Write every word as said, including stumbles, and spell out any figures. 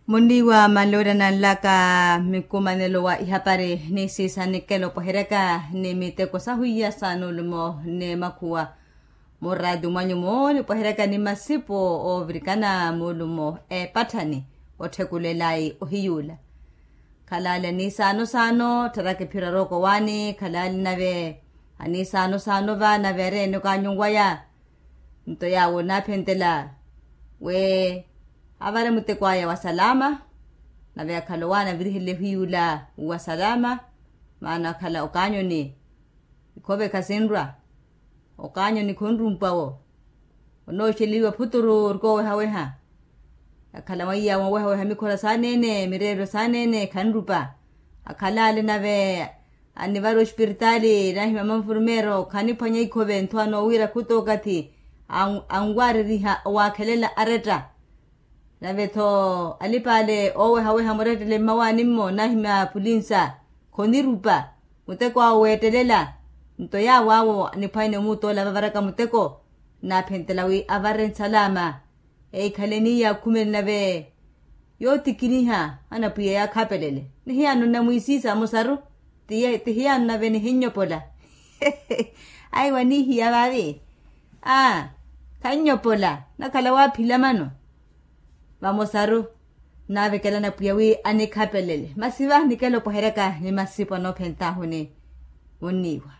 Munniiwa manloolana nlaka mikumanelo wa ihapari ni siisa nikelo pweheryaka ni miteko sahwiya sa nuulumo ni makhuwa. Muraati mwanyu muuni pweheryaka ni masipo oovirikana muulumo eepatthani otthekulelayi ohiyuula. Khalali aniisaano saano tharaka ephiro arooko waani khalali nave aniisaano saano va nave areene okaanyunwaya. Nto yaawo naaphentela wi avare muteko aya wa salama. Nave akhala owaana avirihele ohiyuula wa salama. Maana akhala okaanyoni ikhove khasinrwa. Okaanyoni khonrumpawo onooxeliwa phuturu orikoowehaweha. Akhala mwaiya moowehaweha mikhora saaneene mireerelo saaneene khanrupa. Akhala ale nave anivara ospiritaali nahimya manfurmeero khaniphwanya ikhove nthu anoowira khuta okathi anwareriha owaakhelela aretta. Nave-tho alipa ale oowehaweha murettele mmawaani-mmo nahimya pulinsa khonirupa muteko awo weettelela. Nto yaawo awo aniphwanyane omuutoola vavaraka muteko naaphentela wi avare nsalama. Eikhaleni yakhumeni nave yootikiniha anapwiya yaakhapelele nihiyaano nnamwiisiisa amosaru. Tihiyaano nave nihinnyopola. Ayi waniihiya vaavi. Aa khannyopola nakhala waaphila mano. Vamosaru naavekelana pwiya wi anikhapelele masi vahi nikelo pweheryaka ni masipo anoophentahuni. Munniiwa